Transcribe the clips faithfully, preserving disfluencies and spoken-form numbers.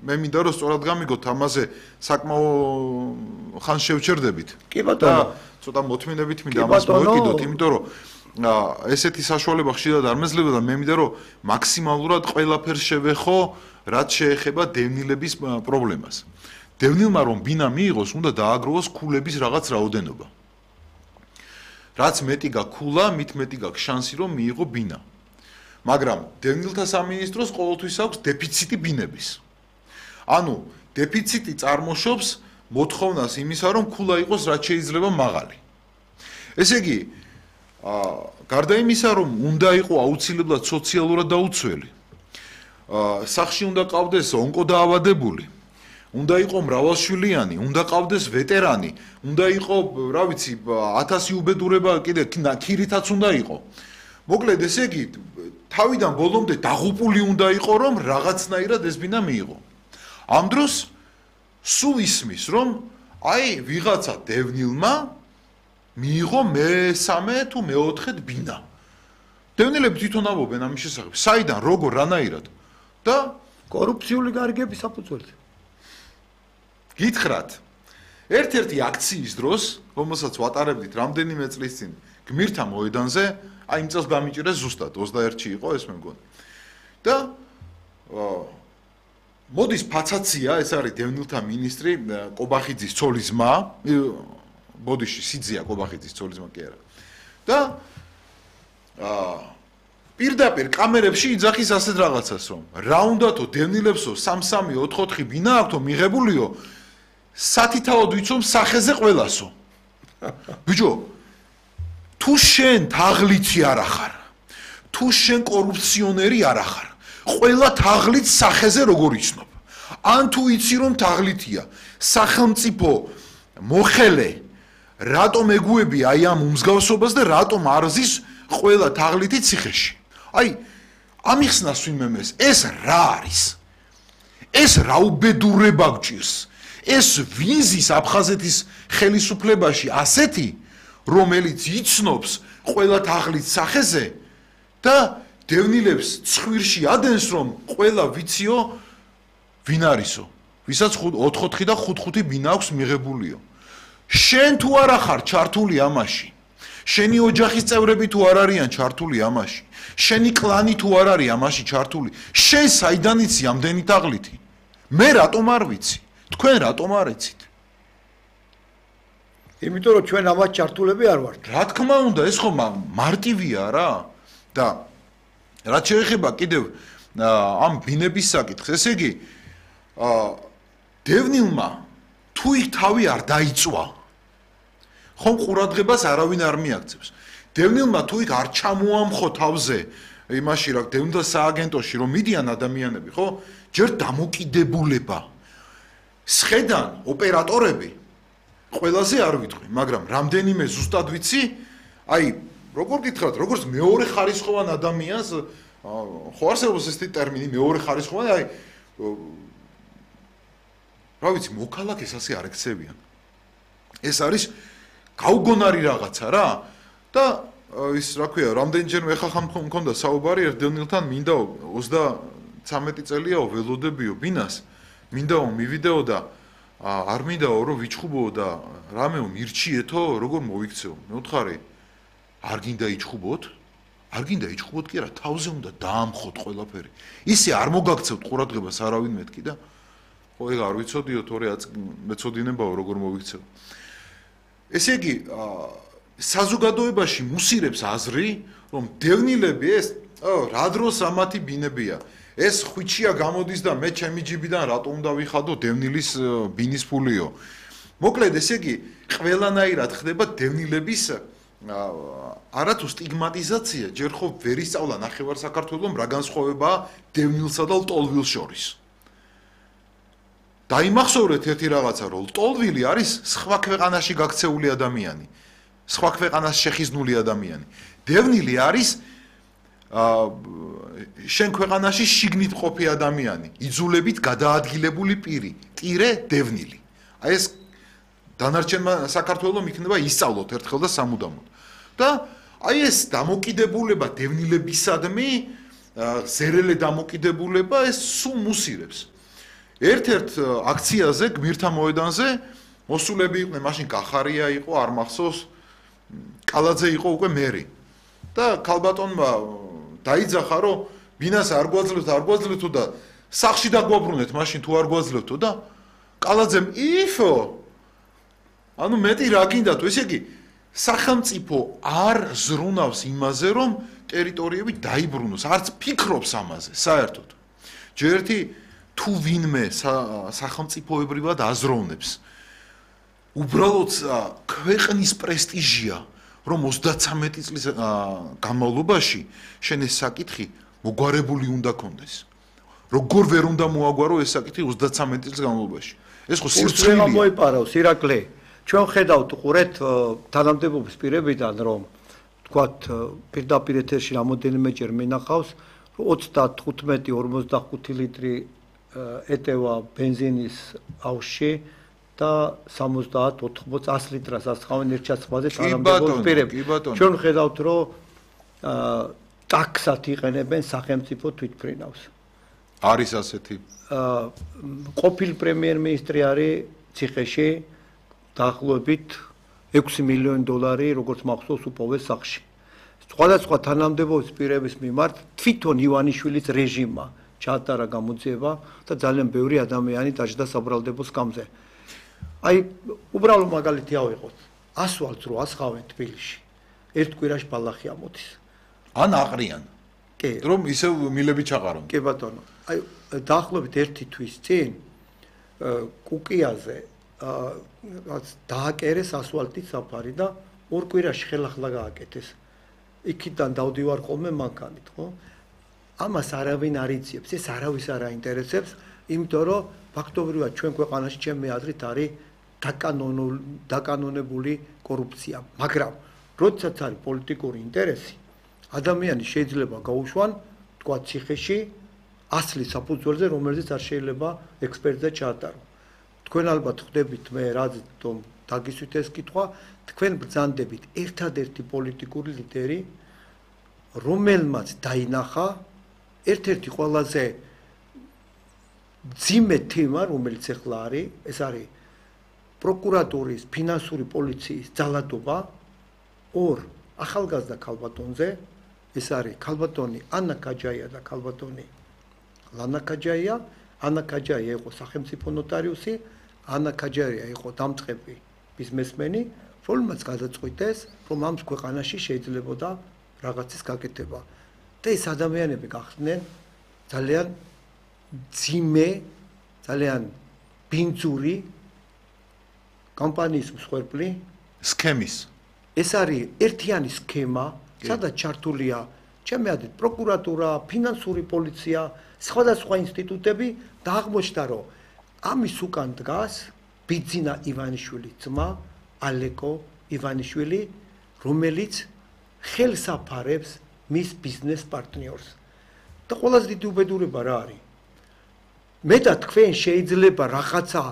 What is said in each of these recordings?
მე მინდა რომ სწორად გამიგოთ ამაზე საკმაო ხან შევჩერდებით. კი ბატონო. ცოტა მოთმინებით მინდა ამას მოვეკიდოთ, იმიტომ რომ ესეთი საშუალება ხშირად არ მეძლება და მე მინდა რომ მაქსიმალურად ყველაფერს შევეხო, რაც შეეხება დევნილების პრობლემას. დევნილმა რომ ბინა მიიღოს, უნდა დააგროვოს ქულების რაღაც რაოდენობა. რაც მეტი გაქვს ქულა, მით მეტი გაქვს შანსი რომ მიიღო ბინა. მაგრამ დევნილთა სამინისტროს ყოველთვის აქვს დეფიციტი ბინების. ანუ დეფიციტი წარმოშობს მოთხოვნას იმისა, რომ ქულა იყოს რაც შეიძლება მაღალი. ესე იგი, აა გარდა იმისა, რომ უნდა იყო აუცილებლად სოციალურად დაუცველი. აა სახში უნდა ყავდეს ონკოდაავადებული. უნდა იყო მრავალშვილიანი, უნდა ყავდეს ვეტერანი, უნდა იყო, რა ვიცი, ათასი უბედურება კიდე ქირითაც უნდა იყო. მოკლედ, ესე იგი, თავიდან ბოლომდე დაღუპული უნდა იყო, რომ რაღაცნაირად ეს ბინა მიიღო. ამ დროს სულ ისმის, რომ აი ვიღაცა დევნილმა მიიღო მესამე თუ მეოთხედ ბინა. დევნილები თვითონ ამბობენ ამის შესახებ, საიდან, როგორ, რანაირად და კორუფციული გარიგების საფუძველზე. გითხრათ, ერთ-ერთი აქციის დროს, რომელსაც ვატარებდით რამდენიმე წლის წინ გმირთა მოედანზე, აი იმ წელს გამიჭირეს ზუსტად ოცდაერთში იყო ეს მე მგონი. და მოდის ფაცაცია, ეს არის დევნილთა მინისტრი კობახიძის ცოლის ძმა, ბოდიში სიძია კობახიძის ცოლის ძმა კი არა. და აა პირდაპირ კამერებში იძახის ასეთ რაღაცას, რომ რა უნდათო დევნილებსო სამი სამი ოთხი ოთხი ბინა აქვთო მიღებულიო სათითაოდ ვიცომ სახეზე ყველასო. ბიჭო, თუ შენ თაღლითი არ ახარ, თუ შენ კორუფციონერი არ ახარ, ყველა თაღლით სახეზე როგორ იცნობ? ან თუ იცი რომ თაღლითია, სახელმწიფო მოხელე, რატომ ეგუები აი ამ უმსგავსობას და რატომ არ ზის ყველა თაღლითი ციხეში? აი, ამიხსნას ვინმემეს, ეს რა არის? ეს რა უბედურება გჭირს? ეს ვინზის აფხაზეთის ხელისუფლებაში ასეთი, რომელიც იცნობს ყველა თაღლით სახეზე და დევნილებს ცხვირში ადენს, რომ ყველა ვიციო ვინ არისო, ვისაც ოთხ ოთხი და ხუთ ხუთი ბინა აქვს მიღებულიო. შენ თუ არ ახარ ჩართული ამაში, შენი ოჯახის წევრები თუ არ არიან ჩართული ამაში, შენი კლანი თუ არ არის ამაში ჩართული, შენ საიდან იცი ამდენი თაღლითი? მე რატომ არ ვიცი? თქვენ რატომ არ იცით? იმიტომ რომ ჩვენ ამას ჩართულები არ ვართ. რა თქმა უნდა, ეს ხო მარტივია რა. და რაც შეეხება კიდევ ამ ბინების საკითხს, ესე იგი, დევნილმა თუ იქ თავი არ დაიწვა, ხომ ყურადღებას არავინ არ მიაქცევს. დევნილმა თუ იქ არ ჩამოამხო თავზე იმაში რა დევნილთა სააგენტოში რომ მიდიან ადამიანები, ხო? ჯერ დამოკიდებულება. სხედან ოპერატორები ყველაზე არ ვიტყვი, მაგრამ რამდენიმე ზუსტად ვიცი, აი, როგორ გითხრათ, როგორც მეორე ხარისხოვან ადამიანს, ხო არსებობს ეს ტერმინი მეორე ხარისხოვანი, აი, რა ვიცი, მოქალაქეს ასე არ ექცევიან. ეს არის გაუგონარი რაღაცა რა და ის რა ქვია, რამდენჯერმე ეხლა ხან მქონდა საუბარი ერთ დევნილთან, მინდა ოცდამეტი წელიაო ველოდებიო ბინას, მინდაო მივიდეო და არ მინდაო რომ ვიჩხუბოო და რამეო მირჩიეთო, როგორ მოიქცეო. მეუთხარი, არ გინდა იჩხუბოთ? არ გინდა იჩხუბოთ კი არა, თავზე უნდა დაამხოთ ყველაფერი. ისე არ მოგაქცევთ ყურადღებას არავინ მეთქი და ხო ეგ არ ვიცოდიო, თორე მეცოდინებაო როგორ მოიქცეო. ესე იგი, საზოგადოებაში მუსირებს აზრი, რომ დევნილები ეს, რა დროს ამათი ბინებია. ეს ხვიჩია გამოდის და მე ჩემი ჯიბიდან რატომ უნდა ვიხადო დევნილის ბინის ფულიო. მოკლედ, ესე იგი, ყველანაირად ხდება დევნილების არათუ სტიგმატიზაცია, ჯერ ხო ვერ ისწავლა ნახევარ საქართველოს რა განსხვავებაა დევნილსა და ლტოლვილს შორის. დაიმახსოვრეთ ერთი რაღაცა, რომ ლტოლვილი არის სხვა ქვეყანაში გაქცეული ადამიანი, სხვა ქვეყანას შეხიზნული ადამიანი. დევნილი არის შენ ქვეყანაში შიგნით ყოფი ადამიანი, იძულებით გადაადგილებული პირი, ტირე დევნილი. აი ეს დანარჩენმა საქართველოს იქნება ისწავლოთ ერთხელ და სამუდამოდ. და აი ეს დამოკიდებულება დევნილებისადმი, ზერელე დამოკიდებულება ეს სულ მუსირებს. ერთ-ერთ აქციაზე გმირთა მოედანზე მოსულები იყვნენ, მაშინ კახარია იყო, არ მახსოვს, კალაძე იყო უკვე მერი. და ქალბატონმა დაიძახა, რომ ბინას არ გვაძლევთ, არ გვაძლევთო და სახში დაგვაბრუნეთ, მაშინ თუ არ გვაძლევთო და კალაძემ იფო. ანუ მეტი რა გინდათ, ესე იგი, სახელმწიფო არ ზრუნავს იმაზე, რომ ტერიტორიები დაიბრუნოს, არც ფიქრობს ამაზე, საერთოდ. ჯერ ერთი თუ ვინმე სახელმწიფოებრივად აზროვნებს, უბრალოდ ქვეყნის პრესტიჟია, რომ ოცდაცამეტი წლის განმავლობაში შენ ეს საკითხი მოგვარებული უნდა კონდეს. როგორ ვერ უნდა მოაგვარო ეს საკითხი ოცდაცამეტი წლის განმავლობაში. ეს ხო სირცხვილია. მოიპარავს ირაკლი. ჩვენ ხედავთ უყურეთ თანამდებობის პირებიდან, რომ თქვათ პირდაპირ ეთერში რამოდენიმეჯერ მინახავს, რომ ოცდათხუთმეტი ორმოცდახუთი ლიტრი ეტევა ბენზინის აუზში და სამოცდაათ ოთხმოცი ას ლიტრას ასხავენ ერთ ჩასხმაზე თანამდებობის პირები. ჩვენ ხედავთ, რომ ტაქსად იყენებენ სახელმწიფო თვითმფრინავს. არის ასეთი. ყოფილი პრემიერ-მინისტრი არის ციხეში დაახლოებით ექვსი მილიონი დოლარი, როგორც მახსოვს, უპოვეს სახში. სხვადასხვა თანამდებობის პირების მიმართ თვითონ ივანიშვილის რეჟიმმა ჩაატარა გამოძიება და ძალიან ბევრი ადამიანი დაჯდა საბრალდებო სკამზე. აი, უბრალო მაგალითი ავიღოთ. ასვალს რო ასხავენ თბილისში. ერთ კვირაში ბალახი ამოდის. ან აყრიან. კი. რომ ისევ მილები ჩაყარონ. კი ბატონო. აი, დაახლოებით ერთი თვის წინ კუკიაზე დააკერეს ასვალტის საფარი და ორ კვირაში ხელახლა გააკეთეს. იქიდან დავდივარ ხოლმე მანქანით, ხო? ამას არავინ არ იცებს, ეს არავის არ აინტერესებს, იმიტომ რომ ფაქტობრივად ჩვენ ქვეყანაში ჩემი აზრით არის დაკანონებული კორუფცია, მაგრამ როდესაც არის პოლიტიკური ინტერესი, ადამიანი შეიძლება გაუშვან, თქვა ციხეში ასლის საფუძველზე, რომელზეც არ შეიძლება ექსპერტიზა ჩაატარო. თქვენ ალბათ ხვდებით მე რაც რომ დაგისვით ეს კითხვა, თქვენ ბრძანდებით ერთადერთი პოლიტიკური ლიდერი, რომელმაც დაინახა ერთ-ერთი ყველაზე ძიმე თემა, რომელიც ახლა არის, ეს არის პროკურატურის, ფინანსური პოლიციის ძალადობა ორ ახალგაზრდა ქალბატონზე, ეს არის ქალბატონი ანა კაჯაია და ქალბატონი ლანა კაჯაია. ანა კაჯაია იყო სახელმწიფო ნოტარიუსი, ანა კაჯაია იყო დამწყები ბიზნესმენი, რომელმაც გადაწყვიტეს, რომ ამ ქვეყანაში შეიძლებოდა რაღაცის გაკეთება. და ეს ადამიანები გახდნენ ძალიან ძიმე, ძალიან ბინძური კომპანიის მსხვერპლი, სქემის. ეს არის ერთიანი სქემა, სადაც ჩართულია ჩემი აზრით პროკურატურა, ფინანსური პოლიცია, სხვადასხვა ინსტიტუტები და აღმოჩნდა, რომ ამის უკან დგას ბიძინა ივანიშვილის ძმა, ალეკო ივანიშვილი, რომელიც ხელს აფარებს მის ბიზნეს პარტნიორს. და ყველაზე დიდი უბედურება რა არის? მე და თქვენ შეიძლება რაღაცა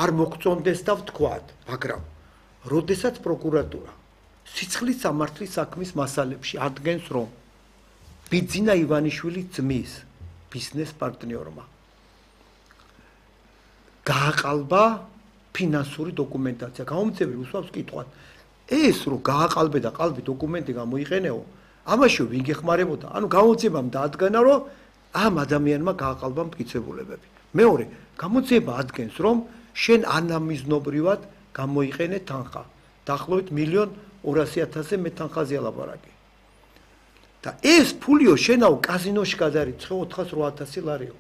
არ მოგწონდეს და ვთქვათ, მაგრამ როდესაც პროკურატურა სიცხლის სამართლის საქმის მასალებში ადგენს, რომ ბიძინა ივანიშვილის ძმის ბიზნეს პარტნიორმა გააყალბა ფინანსური დოკუმენტაცია. გამომწევი უსვამს კითხვას, ეს რო გააყალბე და ყალბი დოკუმენტი გამოიყენეო, ამაში ვინ გეხმარებოდა? ანუ გამოძიებამ დაადგანა, რომ ამ ადამიანმა გააყალბა მტკიცებულებები. მეორე, გამოძიება ადგენს, რომ შენ ანამიზნობრივად გამოიყენე თანხა. დაახლოებით მილიონ ორასი ათასზე მე თანხაზე ალაპარაკი. და ეს ფულიო შენაო კაზინოში გადარიცხე ოთხას რვა ათასი ლარიო.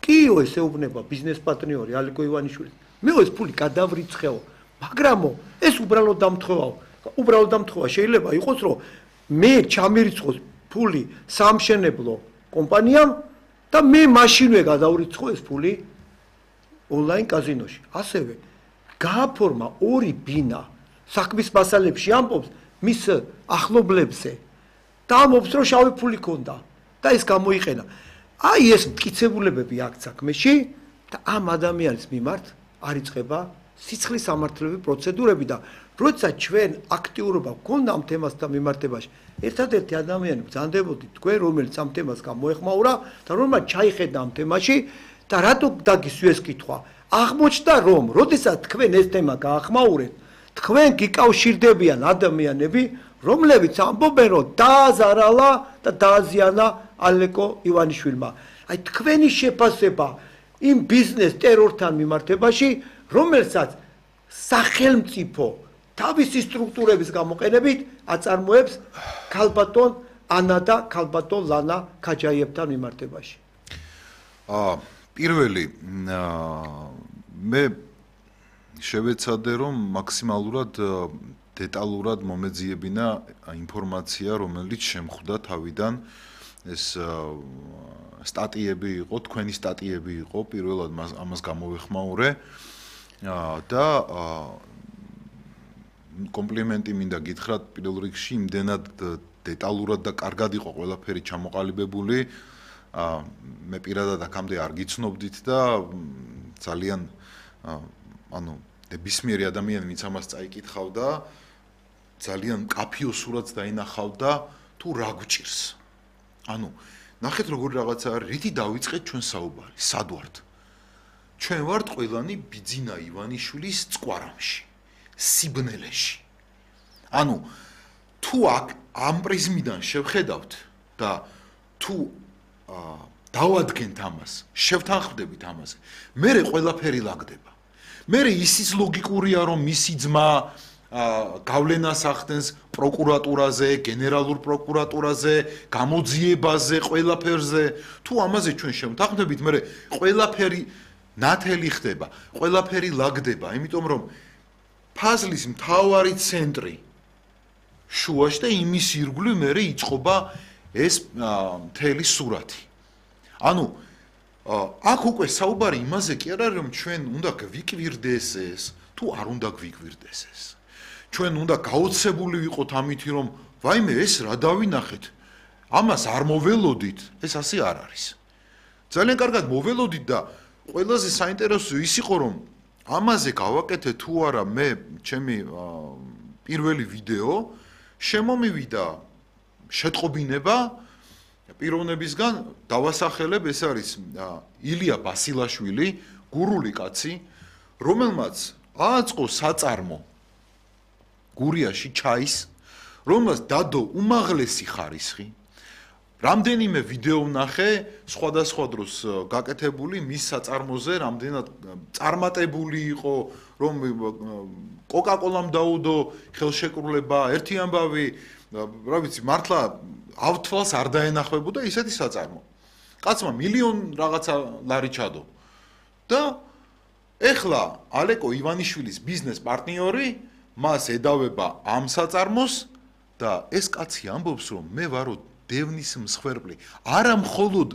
კიო ეს ეუბნება ბიზნეს პარტნიორი ალეკო ივანიშვილი. მე ეს ფული გადავრიცხეო, მაგრამო ეს უბრალოდ დამთხევაო. უბრალოდ დამთხევა შეიძლება იყოს, რომ მე ჩამირიცხოს ფული სამშენებლო კომპანიამ და მე მაშინვე გადავრიცხო ეს ფული ონლაინ კაზინოში. ასევე გააფორმა ორი ბინა საქმის მასალებში ამბობს მის ახლობლებზე და ამბობს, რომ შავი ფული ქონდა და ეს გამოიყენა. აი ეს მტკიცებულებები აქვს საქმეში და ამ ადამიანის მიმართ არიწყება სიცხლის სამართლებრივი პროცედურები და როდესაც ჩვენ აქტიურობა გქონდა ამ თემასთან მიმართებაში, ერთადერთი ადამიანი ბრძანდებოდით თქვენ, რომელიც ამ თემას გამოეხმაურა და რომელმაც ჩაიხედა ამ თემაში და რატო დაგისვი ეს კითხვა? აღმოჩნდა რომ, როდესაც თქვენ ეს თემა გაახმაურეთ, თქვენ გიკავშირდებიან ადამიანები, რომლებიც ამბობენ, რომ დააზარალა და დააზიანა ალეკო ივანიშვილმა. აი თქვენი შეფასება იმ ბიზნეს ტერორთან მიმართებაში, რომელსაც სახელმწიფო თავისი სტრუქტურების გამოყენებით აწარმოებს ქალბატონ ანა და ქალბატონ ლანა ქაჯაიევთან მიმართებაში. აა პირველი მე შევეცადე რომ მაქსიმალურად დეტალურად მომეძიებინა ინფორმაცია, რომელიც შემხვდა თავიდან ეს სტატიები იყო, თქვენი სტატიები იყო, პირველად ამას გამოვეხმაურე და კომპლიმენტი მინდა გითხრათ პირველ რიგში, იმდენად დეტალურად და კარგად იყო ყველაფერი ჩამოყალიბებული. მე პირადად აქამდე არ გიცნობდით და ძალიან ანუ ნებისმიერი ადამიანი ვინც ამას წაიკითხავდა, ძალიან მკაფიო სურათს დაინახავდა თუ რა გვჭირს. ანუ ნახეთ როგორი რაღაცა არის, რითი დავიწყეთ ჩვენ საუბარი, სად ვართ? ჩვენ ვართ ყველანი ბიძინა ივანიშვილის წკვარამში, სიბნელეში. ანუ თუ აქ ამ პრიზმიდან შევხედავთ და თუ დავადგენთ ამას, შევთანხმდებით ამაზე, მერე ყველაფერი ლაგდება. მერე ისიც ლოგიკურია, რომ მისი ძმა გავლენას ახდენს პროკურატურაზე, გენერალურ პროკურატურაზე, გამოძიებაზე, ყველაფერზე. თუ ამაზე ჩვენ შევთანხმდებით, მერე ყველაფერი ნათელი ხდება, ყველაფერი ლაგდება, იმიტომ რომ ფაზლის მთავარი ცენტრი შუაში და იმის ირგვლივ მერე იწყობა ეს მთელი სურათი. ანუ აქ უკვე საუბარი იმაზე კი არ არის, რომ ჩვენ უნდა გვიკვირდეს ეს, თუ არ უნდა გვიკვირდეს ეს. ჩვენ უნდა გაოცებული ვიყოთ ამითი, რომ ვაიმე ეს რა დავინახეთ, ამას არ მოველოდით, ეს ასე არ არის. ძალიან კარგად მოველოდით და ყველაზე საინტერესო ის იყო, რომ ამაზე გავაკეთე თუ არა მე ჩემი პირველი ვიდეო, შემომივიდა შეტყობინება პიროვნებისგან, დავასახელებ, ეს არის ილია ბასილაშვილი, გურული კაცი, რომელმაც ააწყო საწარმო გურიაში ჩაის, რომელმაც დადო უმაღლესი ხარისხი. რამდენიმე ვიდეო ვნახე, სხვადასხვა დროს გაკეთებული მის საწარმოზე, რამდენად წარმატებული იყო, რომ კოკა-კოლამ დაუდო ხელშეკრულება, ერთი ამბავი, რა ვიცი, მართლა ავთვალს არ დაენახებოდა ისეთი საწარმო. კაცმა მილიონ რაღაცა ლარი ჩადო. და ეხლა ალეკო ივანიშვილის ბიზნეს პარტნიორი მას ედავება ამ საწარმოს და ეს კაცი ამბობს, რომ მე ვარო დევნის მსხვერპლი, არა მხოლოდ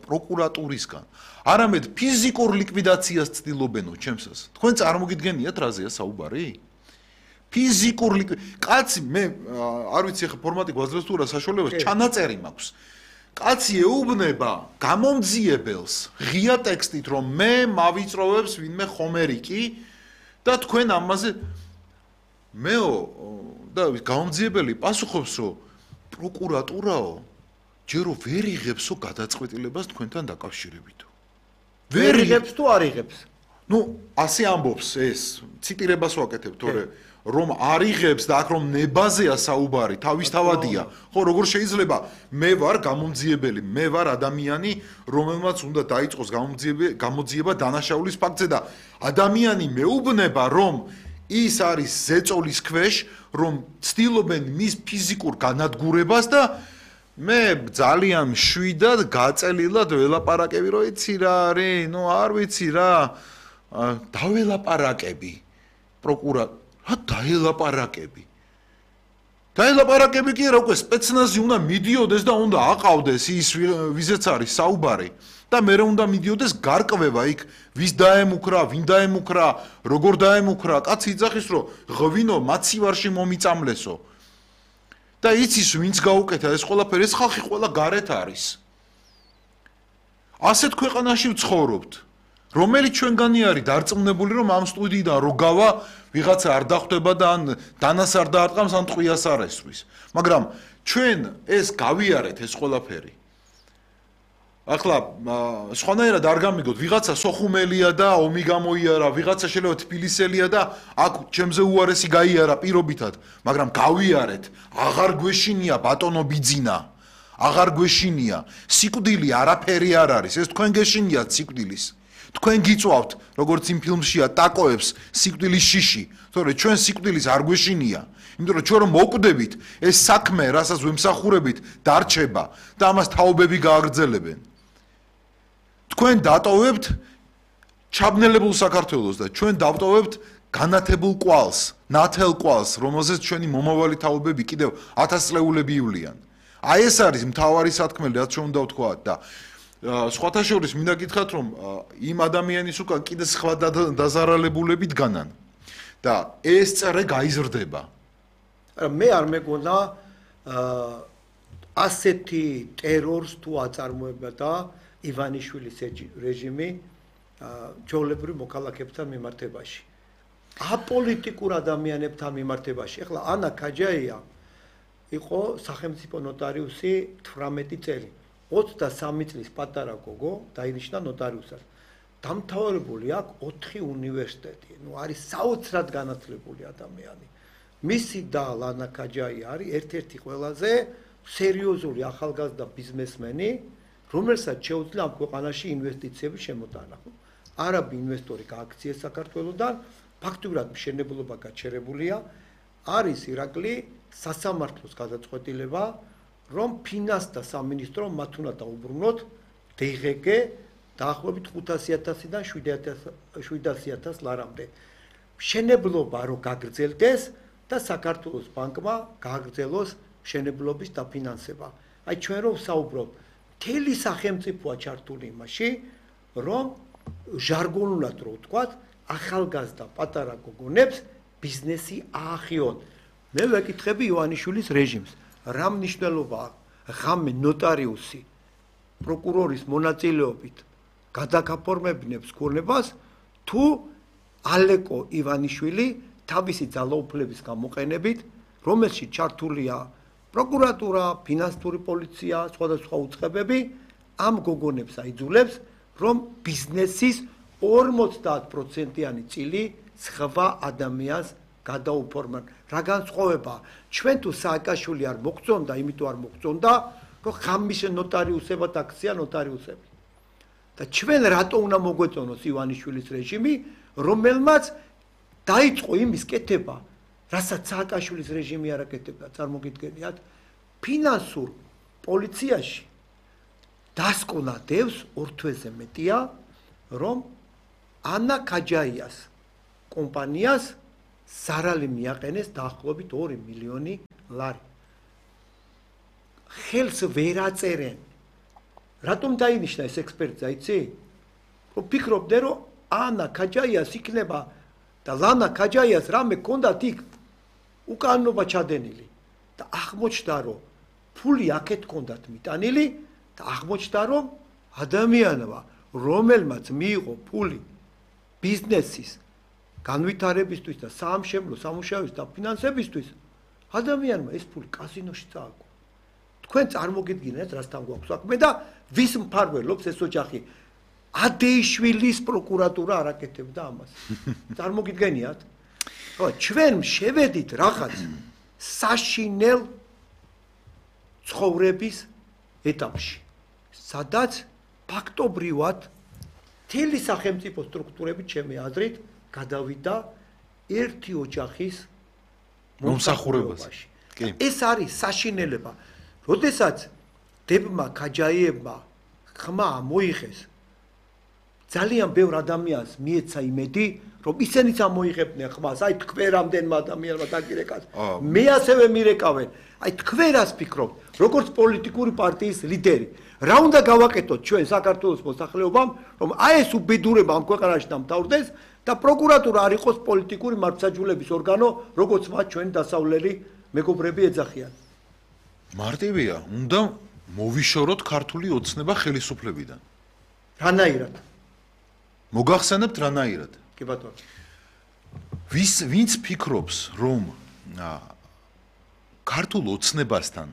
პროკურატურისგან, არამედ ფიზიკურ ლიკვიდაციას ცდილობენო ჩემსას. თქვენ წარმოგიდგენიათ რაზეა საუბარი? ფიზიკურ კაცი მე არ ვიცი ახლა ფორმატი გვაძლევს თუ რა საშუალებას, ჩანაწერი მაქვს. კაცი ეუბნება გამომძიებელს ღია ტექსტით, რომ მე მავიწროვებს ვინმე ხომერიკი და თქვენ ამაზე მეო და გამომძიებელი პასუხობს, რომ პროკურატურაო ჯერო ვერ იღებსო გადაწყვეტილებას თქვენთან დაკავშირებითო. ვერ იღებს თუ არ იღებს? ნუ ასე ამბობს ეს, ციტირებას ვაკეთებ, თორე რომ არ იღებს და აქ რომ ნებაზეა საუბარი, თავისთავადია. ხო, როგორ შეიძლება მე ვარ გამომძიებელი, მე ვარ ადამიანი, რომელმაც უნდა დაიწყოს გამოძიება დანაშაულის ფაქტზე და ადამიანი მეუბნება, რომ ის არის ზეწოლის ქვეშ, რომ ცდილობენ მის ფიზიკურ განადგურებას და მე ძალიან მშვიდად გაწელილად ველაპარაკები, რომ იცი რა არის, ნუ არ ვიცი რა, დაველაპარაკები პროკურატ რა დაელაპარაკები? დაელაპარაკები კი რა, უკვე სპეცნაზი უნდა მიდიოდეს და უნდა აყავდეს ის ვიზეც არის საუბარი და მე უნდა მიდიოდეს გარკვევა იქ, ვის დაემუქრა, ვინ დაემუქრა, როგორ დაემუქრა, კაცი იძახის, რომ ღვინო მაცივარში მომიწამლესო. და იცის ვინც გაუკეთა ეს ყველაფერი, ეს ხალხი ყველა გარეთ არის. ასეთ ქვეყანაში ვცხოვრობთ. რომელიც ჩვენგანი არის დარწმუნებული, რომ ამ სტუდიიდან რო გავა, ვიღაცა არ დახვდება და ან დანას არ დაარტყამს, ან ტყვიას არ ესვრის. მაგრამ ჩვენ ეს გავიარეთ ეს ყველაფერი. ახლა სხვანაირად არ გამიგოთ, ვიღაცა სოხუმელია და ომი გამოიარა, ვიღაცა შეიძლება თბილისელია და აქ ჩემზე უარესი გაიარა პირობითად, მაგრამ გავიარეთ, აღარ გვეშინია ბატონო ბიძინა, აღარ გვეშინია, სიკვდილი არაფერი არ არის, ეს თქვენ გეშინიათ სიკვდილის. თქვენ გიწვავთ, როგორც იმ ფილმშია ტაკოებს სიკვდილის შიში, თორე ჩვენ სიკვდილის არ გვეშინია. იმიტომ რომ ჩვენ რომ მოკვდებით, ეს საქმე, რასაც ვემსახურებით, დარჩება და ამას თაობები გააგრძელებენ. თქვენ დატოვებთ ჩაბნელებულ საქართველოს და ჩვენ დავტოვებთ განათებულ კვალს, ნათელ კვალს, რომელზეც ჩვენი მომავალი თაობები კიდევ ათასწლეულები ივლიან. აი ეს არის მთავარი სათქმელი, რაც ჩვენ უნდა ვთქვათ და სხვათა შორის მინდა გითხრათ, რომ იმ ადამიანის უკან კიდე სხვა დაზარალებულები დგანან და ეს წერე გაიზრდება. მე არ მეგონა ასეთი ტერორს თუ აწარმოება და ივანიშვილის რეჟიმი ჯოლებრივ მოქალაქეებთან მიმართებაში. აპოლიტიკურ ადამიანებთან მიმართებაში. ეხლა ანა ქაჯაია იყო სახელმწიფო ნოტარიუსი თვრამეტი წელი. ოცდასამი წლის პატარა გოგო დაინიშნა ნოტარიუსად. დამთავრებული აქვს ოთხი უნივერსიტეტი. ნუ არის საოცრად განათლებული ადამიანი. მისი და ლანა ქაჯაი არის ერთ-ერთი ყველაზე სერიოზული ახალგაზრდა ბიზნესმენი, რომელსაც შეუძლია ამ ქვეყანაში ინვესტიციების შემოტანა. არაბი ინვესტორი გააქციეს საქართველოსთან, ფაქტობრივად მშენებლობა გაჩერებულია, არის ირაკლი სასამართლოს გადაწყვეტილება, რომ ფინანსთა სამინისტრო მათ უნდა დაუბრუნოთ დღგ დაახლოებით ხუთასი ათასიდან შვიდასი ათას ლარამდე. მშენებლობა რო გაგრძელდეს და საქართველოს ბანკმა გააგრძელოს მშენებლობის დაფინანსება. აი ჩვენ რო ვსაუბრობ, მთელი სახელმწიფოა ჩართული იმაში, რომ ჟარგონულად რო ვთქვათ, ახალგაზრდა პატარა გოგონებს ბიზნესი აახიონ. მე ვეკითხები ივანიშვილის რეჟიმს, რა მნიშვნელობა ღამე ნოტარიუსი პროკურორის მონაწილეობით გადაგაფორმებინებს ქონებას, თუ ალეკო ივანიშვილი თავისი ძალაუფლების გამოყენებით, რომელშიც ჩართულია პროკურატურა, ფინანსური პოლიცია, სხვადასხვა უწყებები, ამ გოგონებს აიძულებს, რომ ბიზნესის ორმოცდაათ პროცენტიანი წილი სხვა ადამიანს გადაუფორმან. რა განსხვავება? ჩვენ თუ სააკაშვილი არ მოგწონდა, იმიტომ არ მოგწონდა, რომ ხამის ნოტარიუსებად აქცია ნოტარიუსები. და ჩვენ რატო უნდა მოგვეწონოს ივანიშვილის რეჟიმი, რომელმაც დაიწყო იმის კეთება, რასაც სააკაშვილის რეჟიმი არ აკეთებდა, წარმოგიდგენიათ, ფინანსურ პოლიციაში დასკვნა დევს ორ თვეზე მეტია, რომ ანა ქაჯაიას კომპანიას ზარალი მიაყენეს დაახლოებით ორი მილიონი ლარი. ხელს ვერ აწერენ. რატომ დაინიშნა ეს ექსპერტზე, იცი? რომ ფიქრობდნენ, რომ ანა ქაჯაიას იქნება და ლანა ქაჯაიას რამე ჰქონდათ იქ უკანონობა ჩადენილი და აღმოჩნდა, რომ ფული აქეთ ჰქონდათ მიტანილი და აღმოჩნდა, რომ ადამიანმა, რომელმაც მიიღო ფული ბიზნესის განვითარებისთვის და საამშენებლო სამუშაოების დაფინანსებისთვის, ადამიანმა ეს ფული კაზინოში წააგო. თქვენ წარმოგიდგინეთ, რასთან გვაქვს საქმე და ვის მფარველობს ეს ოჯახი? ადეიშვილის პროკურატურა არ აკეთებდა ამას. წარმოგიდგენიათ? ხო, ჩვენ შევედით რაღაც საშინელ ცხოვრების ეტაპში, სადაც ფაქტობრივად მთელი სახელმწიფო სტრუქტურები ჩემი აზრით გადავიდა ერთი ოჯახის მომსახურებაში. ეს არის საშინელება. როდესაც დებმა ქაჯაიებმა ხმა მოიხეს, ძალიან ბევრ ადამიანს მიეცა იმედი, რომ ისინიც ამოიღებდნენ ხმას, აი თქვენ რამდენმა ადამიანმა დაგირეკათ. მე ასევე მირეკავენ. აი თქვენას ფიქრობთ, როგორც პოლიტიკური პარტიის ლიდერი, რა უნდა გავაკეთოთ ჩვენ საქართველოს მოსახლეობამ, რომ აი ეს უბედურება ამ ქვეყანაში დამთავრდეს და პროკურატურა არ იყოს პოლიტიკური მართლმსაჯულების ორგანო, როგორც მათ ჩვენი დასავლელი მეგობრები ეძახიან. მარტივია, უნდა მოვიშოროთ ქართული ოცნება ხელისუფლებიდან. რანაირად? მოგახსენებთ რანაირად? კი ბატონო. ვის ვინც ფიქრობს, რომ ქართულ ოცნებასთან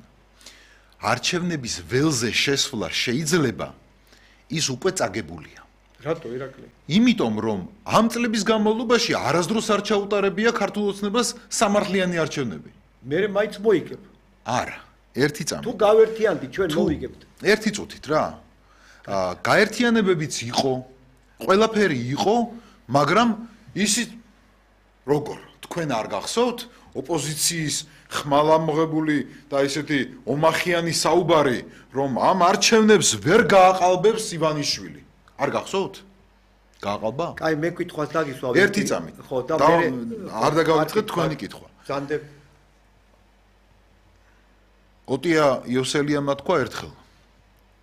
არჩევნების ველზე შესვლა შეიძლება, ის უკვე წაგებულია. რატო ირაკლი? იმიტომ რომ ამ წლების განმავლობაში არასდროს არ ჩაუტარებია ქართულ ოცნებას სამართლიანი არჩევნები. მე მაინც მოიგებ. არა, ერთი წამი. თუ გავერთიანდი ჩვენ მოვიგებთ. ერთი წუთით რა. აა გაერთიანებებიც იყო, ყველაფერი იყო, მაგრამ ისი როგორ თქვენ არ გახსოვთ ოპოზიციის ხმალამღებული და ისეთი ომახიანი საუბარი, რომ ამ არჩევნებს ვერ გააყალბებს ივანიშვილი. არ გახსოვთ? გააყალბა? კაი, მე კითხვას დაგისვავ. ერთი წამით. ხო, და მე არ დაგავიწყეთ თქვენი კითხვა. ზანდებ. ოტია იოსელიანმა თქვა ერთხელ.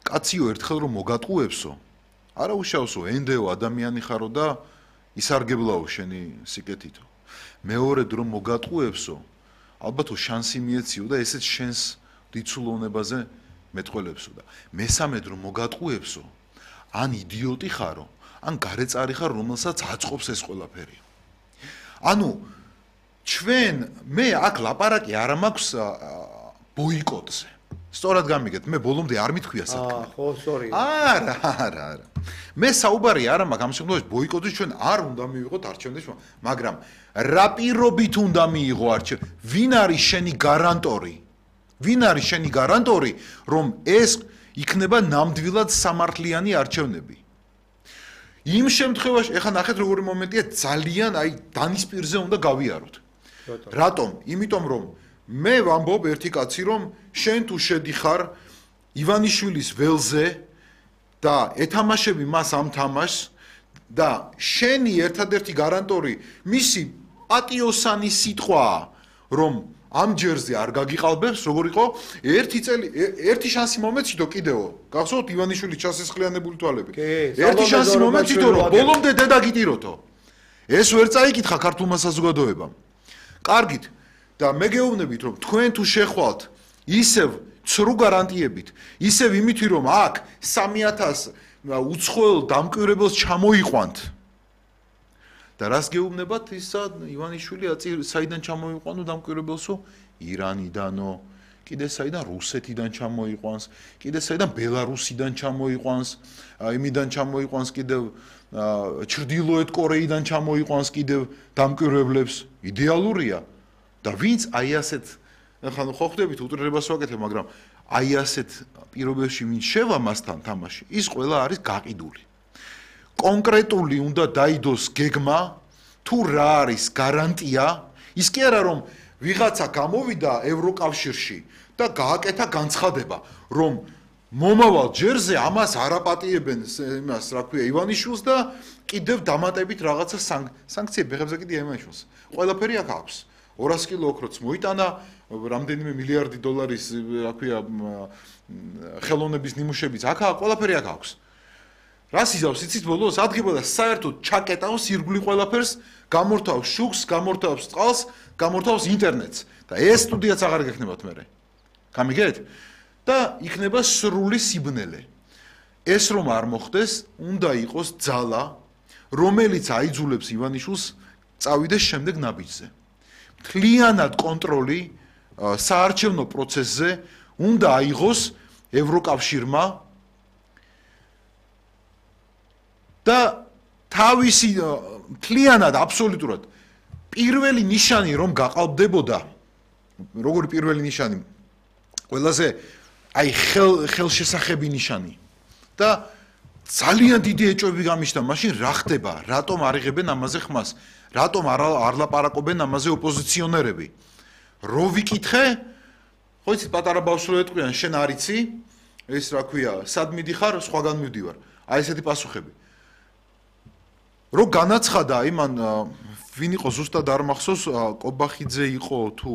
კაციო ერთხელ რომ მოგატყუებსო, არა უშავსო ენდეო ადამიანი ხარო და ისარგებლაო შენი სიკეთითო. მეორედ რომ მოგატყუებსო, ალბათო შანსი მიეციო და ესეც შენს დიცულოვნებაზე მეტყველებსო და მესამედ რომ მოგატყუებსო, ან იდიოტი ხარო, ან გარეწარი ხარ, რომელსაც აწყობს ეს ყველაფერი. ანუ ჩვენ მე აქ ლაპარაკი არ მაქვს ბოიკოტზე. სწორად გამიგეთ, მე ბოლომდე არ მithქვია საქმე. აა, ხო, სორი. არა, არა, არა. მე საუბარი არ მაქვს ამ შემთხვევაში ბოიკოტის ჩვენ არ უნდა მივიღოთ არჩევნებში, მაგრამ რა პირობით უნდა მიიღო არჩევნები? ვინ არის შენი გარანტორი? ვინ არის შენი გარანტორი, რომ ეს იქნება ნამდვილად სამართლიანი არჩევნები? იმ შემთხვევაში, ეხლა ნახეთ როგორი მომენტია, ძალიან აი დანის პირზე უნდა გავიაროთ. რატომ? იმიტომ რომ მე ვამბობ ერთი კაცი რომ შენ თუ შედიხარ ივანიშვილის ველზე და ეთამაშები მას ამ თამაშს და შენი ერთადერთი გარანტორი მისი პატიოსანი სიტყვაა რომ ამ ჯერზე არ გაგიყალბებს როგორ იყო ერთი წელი ერთი შანსი მომეციდო კიდევ გახსოვთ ივანიშვილის ჩასესხლიანებული თვალები ერთი შანსი მომეციდო რომ ბოლომდე დედა გიტიროთო ეს ვერ წაიკითხა ქართულმა საზოგადოებამ კარგით და მე გეუბნებით რომ თქვენ თუ შეხვალთ ისევ ცრუ გარანტიებით ისევ იმითი რომ აქ სამი ათასი უცხოელ დამკვირვებელს ჩამოიყვანთ და რას გეუბნებათ ისა ივანიშვილი საიდან ჩამოიყვანო დამკვირვებელსო ირანიდანო კიდე საიდან რუსეთიდან ჩამოიყვანს კიდე საიდან ბელარუსიდან ჩამოიყვანს იმიდან ჩამოიყვანს კიდევ ჩრდილოეთ კორეიდან ჩამოიყვანს კიდევ დამკვირვებლებს იდეალურია და ვინც აი ასეთ ახლა ხო ხვდებით უტრირებას ვაკეთებ მაგრამ აი ასეთ პირობებში ვინც შევა მასთან თამაში ის ყველა არის გაყიდული კონკრეტული უნდა დაიდოს გეგმა თუ რა არის გარანტია ის კი არა რომ ვიღაცა გამოვიდა ევროკავშირში და გააკეთა განცხადება რომ მომავალ ჯერზე ამას არაპატიებენ იმას რა ქვია ივანიშვილს და კიდევ დამატებით რაღაცა სანქციები ხებზე კიდე ივანიშვილს ყველაფერი აქ აქვს ორას კილო ოქროც მოიტანა რამდენიმე მილიარდი დოლარის რა ქვია ხელოვნების ნიმუშებიც აქ ყველაფერი აქ აქვს რას იზავს იცით ბოლოს ადგებოდა საერთოდ ჩაკეტავს ირგვლივ ყველაფერს გამორთავს შუქს გამორთავს წყალს გამორთავს ინტერნეტს და ეს სტუდიაც აღარ გექნებათ მერე გამიგეთ და იქნება სრული სიბნელე ეს რომ არ მოხდეს უნდა იყოს ძალა რომელიც აიძულებს ივანიშვილს წავიდეს შემდეგ ნაბიჯზე მთლიანად კონტროლი საარჩევნო პროცესზე უნდა აიღოს ევროკავშირმა და თავისი მთლიანად აბსოლუტურად პირველი ნიშანი რომ გაყალბდებოდა როგორი პირველი ნიშანი ყველაზე აი ხელ ხელშესახები ნიშანი და ძალიან დიდი ეჭვები გამიშთა მაშინ რა ხდება რატომ არ იღებენ ამაზე ხმას რატომ არ არ ლაპარაკობენ ამაზე ოპოზიციონერები რო ვიკითხე ხო იცით პატარა ბავშვი ეტყვიან შენ არ იცი ეს რა ქვია სად მიდიხარ სხვაგან მივდივარ აი ესეთი პასუხები რო განაცხადა იმან ვინ იყო ზუსტად არ მახსოვს კობახიძე იყო თუ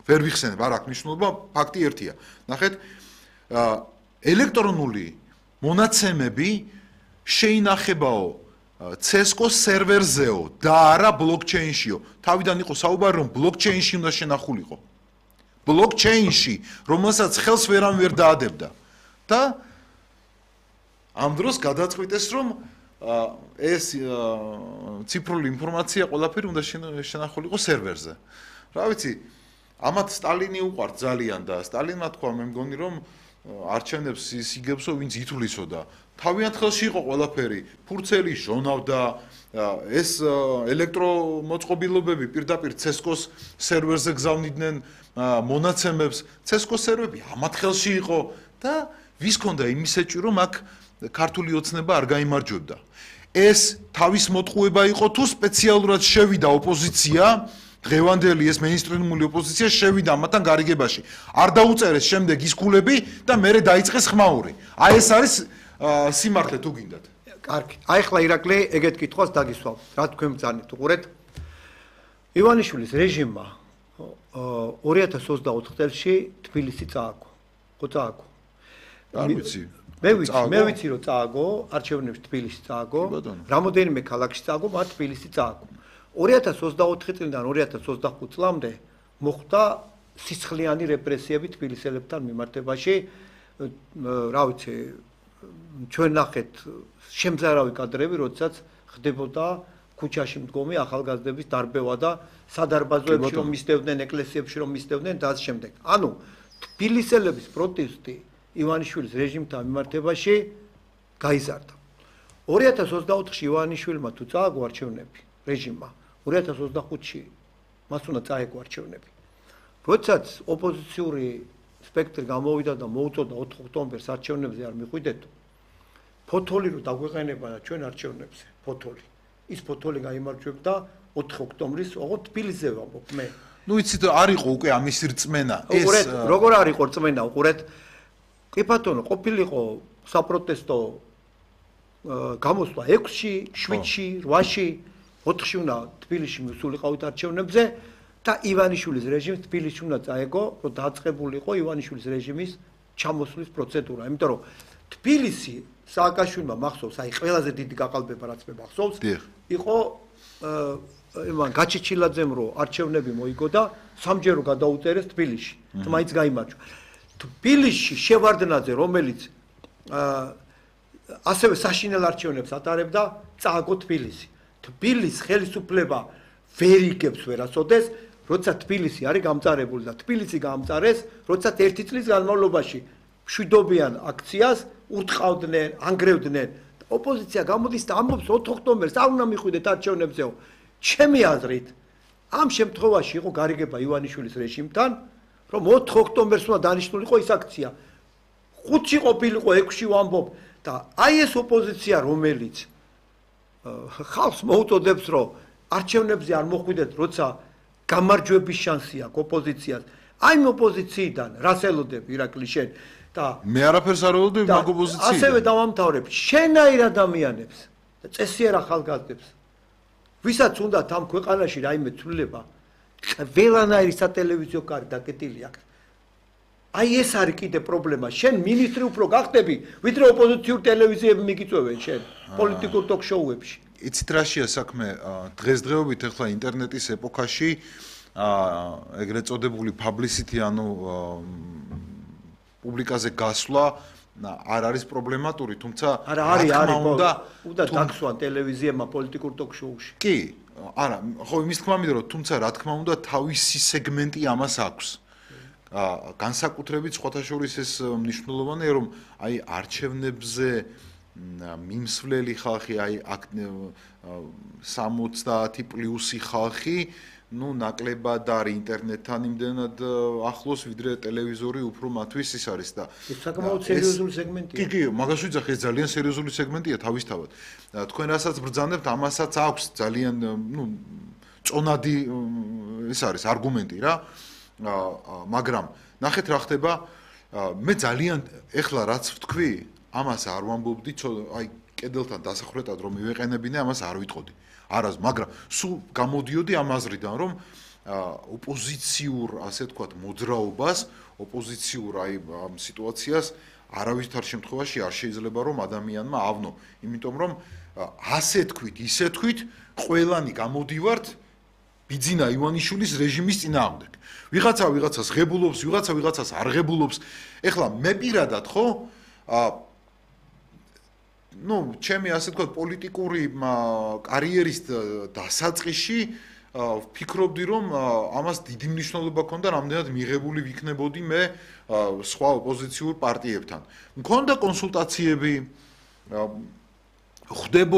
ვერ ვიხსენებ არ აქვს მნიშვნელობა ფაქტი ერთია ნახეთ ელექტრონული მონაცემები შეინახებაო ცესკოს სერვერზეო და არა ბლოკჩეინშიო თავიდან იყო საუბარი რომ ბლოკჩეინში უნდა შენახულიყო ბლოკჩეინში რომელსაც ხელს ვერამ ვერ დაადებდა და ამ დროს გადაწყვიტეს რომ ეს ციფრული ინფორმაცია ყველაფერი უნდა შენახულიყო სერვერზე რა ვიცი ამათ სტალინი უყვართ ძალიან და სტალინმა თქვა მე მგონი რომ არჩევნებს იგებსო, ვინც ითვლისო და თავიანთ ხელში იყო ყველაფერი, ფურცელი ჟონავდა, ეს ელექტრომოწყობილობები პირდაპირ ცესკოს სერვერზე გზავნიდნენ მონაცემებს, ცესკოს სერვერები ამათ ხელში იყო და ვის ქონდა იმის ეჭვი, რომ აქ ქართული ოცნება არ გაიმარჯვებდა. ეს თავის მოტყუება იყო თუ სპეციალურად შევიდა ოპოზიცია, დღევანდელი ეს მეინსტრიმული ოპოზიცია შევიდა ამათან გარიგებაში. არ დაუწერეს შემდეგ ის ქულები და მერე დაიწყეს ხმაური. აი ეს არის სიმართლე თუ გინდათ. კარგი. აი ხლა ირაკლი ეგეთ კითხვას დაგისვავ. რა თქვენ ბრძანეთ უყურეთ. ივანიშვილის რეჟიმმა ორი ათას ოცდაოთხ წელს თბილისი წააგო. ხო წააგო. არ ვიცი. მე ვიცი, მე ვიცი რომ წააგო, არჩევნებში თბილისში წააგო, რამოდენიმე ქალაქში წააგო, მათ თბილისში წააგო. ორი ათას ოცდაოთხი წლიდან ორი ათას ოცდახუთ წლამდე მოხდა სისხლიანი რეპრესიები თბილისელებთან მიმართებაში. რა ვიცი, ჩვენ ნახეთ შემზარავი კადრები, როდესაც ხდებოდა ქუჩაში მდგომი ახალგაზრდების დარბევა და სადარბაზოებში რომ მისდევდნენ, ეკლესიებში რომ მისდევდნენ და ამ შემდეგ. ანუ თბილისელების პროტესტი ივანიშვილის რეჟიმთან მიმართებაში გაიზარდა. ორი ათას ოცდაოთხში ივანიშვილმა თუ წააგო არჩევნები რეჟიმმა, ორი ათას ოცდახუთში მას უნდა წაეგო არჩევნები. როდესაც ოპოზიციური სპექტრი გამოვიდა და მოუწოდა ოთხ ოქტომბერს არჩევნებზე არ მიხვიდეთ, ფოთოლი რო დაგვეყენება ჩვენ არჩევნებზე, ფოთოლი. ის ფოთოლი გაიმარჯვებდა ოთხ ოქტომბრის, ოღონდ თბილისზე ვამბობ მე. ნუ იცით არ იყო უკვე ამის რწმენა. ეს უყურეთ, როგორ არ იყო რწმენა, უყურეთ. კი ბატონო, ყოფილიყო საპროტესტო გამოსვლა ექვსში, შვიდში, რვაში, ოთხში უნდა თბილისში მისულიყავით არჩევნებზე და ივანიშვილის რეჟიმს თბილისში უნდა წაეგო, რომ დაწყებულიყო ივანიშვილის რეჟიმის ჩამოსვლის პროცედურა. იმიტომ რომ თბილისი სააკაშვილმა მახსოვს, აი ყველაზე დიდი გაყალბება რაც მე მახსოვს, იყო იმან გაჩეჩილაძემ რო არჩევნები მოიგო და სამჯერო გადაუწერეს თბილისში. თმაიც გაიმარჯვა. თბილისში შევარდნაძე, რომელიც ასევე საშინელ არჩევნებს ატარებდა, წააგო თბილისი. თბილისის ხელისუფლება ვერ იგებს ვერასოდეს, როცა თბილისი არის გამწარებული და თბილისი გამწარეს, როცა ერთი წლის განმავლობაში მშვიდობიან აქციას ურტყავდნენ, ანგრევდნენ. ოპოზიცია გამოდის და ამბობს ოთხ ოქტომბერს არ უნდა მიხვიდეთ არჩევნებზეო. ჩემი აზრით, ამ შემთხვევაში იყო გარიგება ივანიშვილის რეჟიმთან, რომ ოთხ ოქტომბერს უნდა დანიშნულიყო ის აქცია. ხუთში ყოფილიყო, ექვსში ვამბობ და აი ეს ოპოზიცია, რომელიც ხალხს მოუწოდებს, რომ არჩევნებზე არ მოხვიდეთ, როცა გამარჯვების შანსი აქვს ოპოზიციას. აი ამ ოპოზიციიდან რას ელოდები ირაკლი შენ და მე არაფერს არ ველოდები მაგ ოპოზიციიდან. ასევე დავამთავრებ, შენაირ ადამიანებს და წესიერ ახალგაზრდებს, ვისაც უნდათ ამ ქვეყანაში რაიმე ცვლილება, ყველანაირი სატელევიზიო კარი დაკეტილი აქვს. აი ეს არის კიდე პრობლემა. შენ მინისტრი უფრო გახდები, ვიდრე ოპოზიციური ტელევიზიები მიგიწევენ შენ პოლიტიკურ ტოქ-შოუებში. იცით რაშია საქმე? დღესდღეობით ახლა ინტერნეტის ეპოქაში ეგრეთ წოდებული publicity, ანუ პუბლიკაზე გასვლა არ არის პრობლემატური, თუმცა არა არის არის უნდა უნდა დაგსვან ტელევიზიებმა პოლიტიკურ ტოქ-შოუში. კი, არა, ხო იმის თქმა მინდა, რომ თუმცა რა თქმა უნდა თავისი სეგმენტი ამას აქვს. განსაკუთრებით სხვათა შორის ეს მნიშვნელოვანია, რომ აი არჩევნებზე მიმსვლელი ხალხი, აი სამოცდაათი პლუსი ხალხი, ну ნაკლებად არის ინტერნეტთან იმდენად ახლოს, ვიდრე ტელევიზორი უფრო მათთვის ის არის და ეს საკმაოდ სერიოზული სეგმენტია. კი, კი, მაგას ვიძახე, ეს ძალიან სერიოზული სეგმენტია თავისთავად. თქვენ რასაც ბრძანებთ, ამასაც აქვს ძალიან, ну, წონადი ეს არის არგუმენტი რა. მაგრამ ნახეთ რა ხდება, მე ძალიან ეხლა რაც ვთქვი, ამას არ ვამბობდი, აი კედელთან დასახვრეტად რომ მივეყენებინე, ამას არ ვიტყოდი. არას, მაგრამ სულ გამოდიოდი ამ აზრიდან, რომ ოპოზიციურ, ასე ვთქვათ, მოძრაობას, ოპოზიციურ აი ამ სიტუაციას არავითარ შემთხვევაში არ შეიძლება რომ ადამიანმა ავნო, იმიტომ რომ ასე თქვით, ისე თქვით, ყველანი გამოდივართ ბიძინა ივანიშვილის რეჟიმის წინააღმდეგ. ვიღაცა ვიღაცას ღებულობს, ვიღაცა ვიღაცას არ ღებულობს. ეხლა მე პირადად ხო ну, ჩემი ასე თქვა პოლიტიკური კარიერის დასაწყისში ვფიქრობდი რომ ამას დიდი მნიშვნელობა ქონდა რამდენად მიღებული ვიქნებოდი მე სხვა ოპოზიციურ პარტიებთან. მქონდა კონსულტაციები, ხდებოდა